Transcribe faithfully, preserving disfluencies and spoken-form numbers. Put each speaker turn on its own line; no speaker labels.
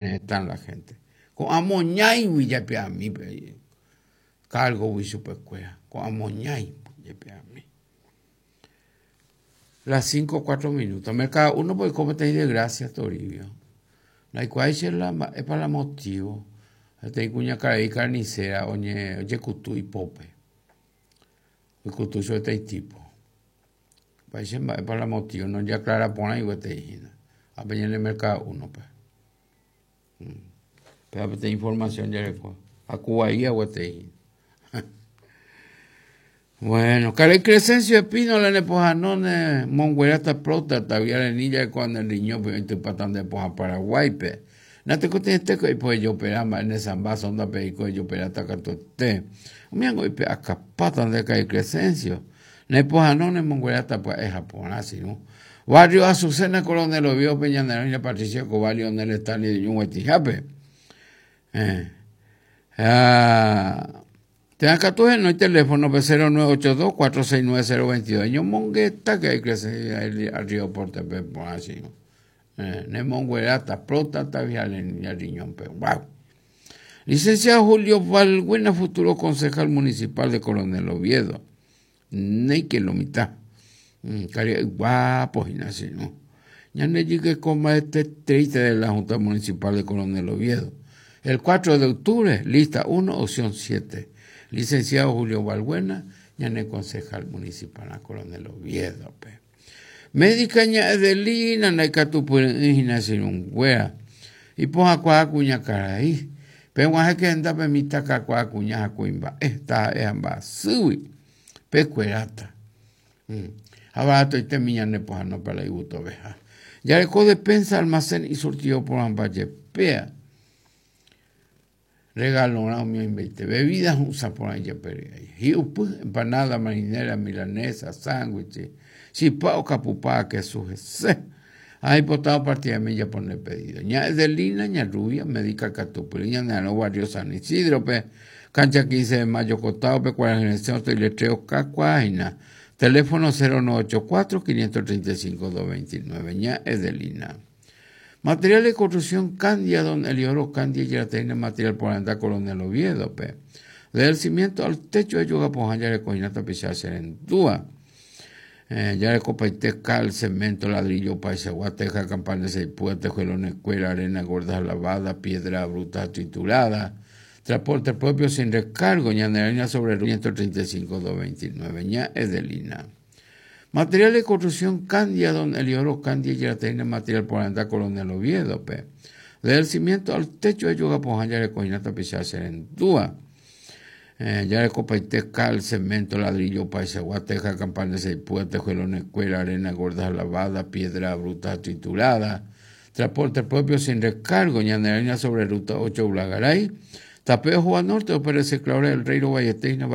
Están la gente. Ko'ã moñáigui jepe'ami pe cargo-gui chupekuéra. Ko'ã moñái jepe'ami. Las cinco cuatro minutos. Mercado uno oiko peteĩ desgracia, Toribio. Ndaikuaái che la mba'épa la motivo. Peteĩ kuñakarai carnicera oñe ojekutu ipópe. Oikutu chupe peteĩ tipo. Mba'éicha mba'épa la motivo nojeaclara porãi gueteri hína. Ápe ñane Mercado uno-pe. Péva peteĩ información jareko. Haku gueteri. Bueno, karai Crescencio Espínola nepohãnóne mongueráta próstata arenilla ne riñópe oitypáta nde pohã Paraguáipe. Natekotevẽtéko ipoejopera mba'e ne samba sondape eiko ejoperáta katuete. Umíango oipe'akapáta nde karai Crescencio. Nepohãnóne mongueráta pya'e ha porã sirũ. Barrio Azucena Coronel Oviedo-pe ñane roĩna Patricia Escobar Lionel Stanley Ñuguetihápe. Eh. Ah, Térã katu henói teléfono-pe cero nueve ocho dos cuatro seis nueve cero veintidós. Eñomongeta que hay crecer arriba porte-pe porã sirũ. Eh, nemongueráta próstata riñónpe. Guau. Licenciado Julio Valbuena, futuro concejal municipal de Coronel Oviedo. Néike lo mitã. Karia'y guapo hína sirũ. Ñande jykeko mba'eteteíta de la Junta Municipal de Coronel Oviedo. El cuatro de octubre, lista uno, opción siete. Licenciado Julio Valbuena, ñane concejal municipal Coronel Oviedo. Médica ña Edelina, ndaikatupyry'ỹ hína sirũnguéra. Ipohãkuaa kuñakarai. Peg̃uahẽke hendápe mitãkakuaa kuña ha kuimba'e taha'e ha mba'asýgui. Pekueráta. Ha baratoitemi ñane pohãno para igustoveha. Jareko despensa, almacén y surtido porãmba jepéa. Regalorã umi oimbeite. Bebidas hu'ũsa porã ijepery'ái. Hi'upy, empanada, marinera, milanesa, sándwich, chipa okapupa kesu hese. Ha ipotava partidami japone pedido. Ña Edelina, ña Rubia, médica katupyry, ñane arõ barrio San Isidro-pe, cancha quince de mayo Cotao-pe, Kuarahyresẽ letrero kakuaa Teléfono cero nueve ocho cuatro, quinientos treinta y cinco, doscientos veintinueve. Ña Edelina. Material de construcción Candia, don Eliodoro Candia, ya tiene material por andar Coronel Oviedo, pe. Desde el cimiento al techo de yoga poja ya recogina tapizar serendúa. Eh, ya recopaite cal, cemento, ladrillo, paisagua, teja, campana, seis puertas, tejuelones, escuela, arena gorda lavada, piedra bruta triturada, transporte propio sin recargo, ñanerina sobre quinientos treinta y cinco, doscientos veintinueve, ña Edelina. Material de construcción Candia, don Eliodoro Candia, ya tiene material por andar Coronel Oviedo, pe. Desde el cimiento al techo de yoga poja ya recogina tapizar serendúa. Eh, ya recopaite cal, cemento, ladrillo, paisagua, teja, campana, seis puertas, tejuelones, escuela, arena gorda lavada, piedra bruta triturada, transporte propio sin recargo, ñanerina sobre ruta ocho Blagaray, Tapeo Juan Norte, Pérez Claure del Rey Valleteina.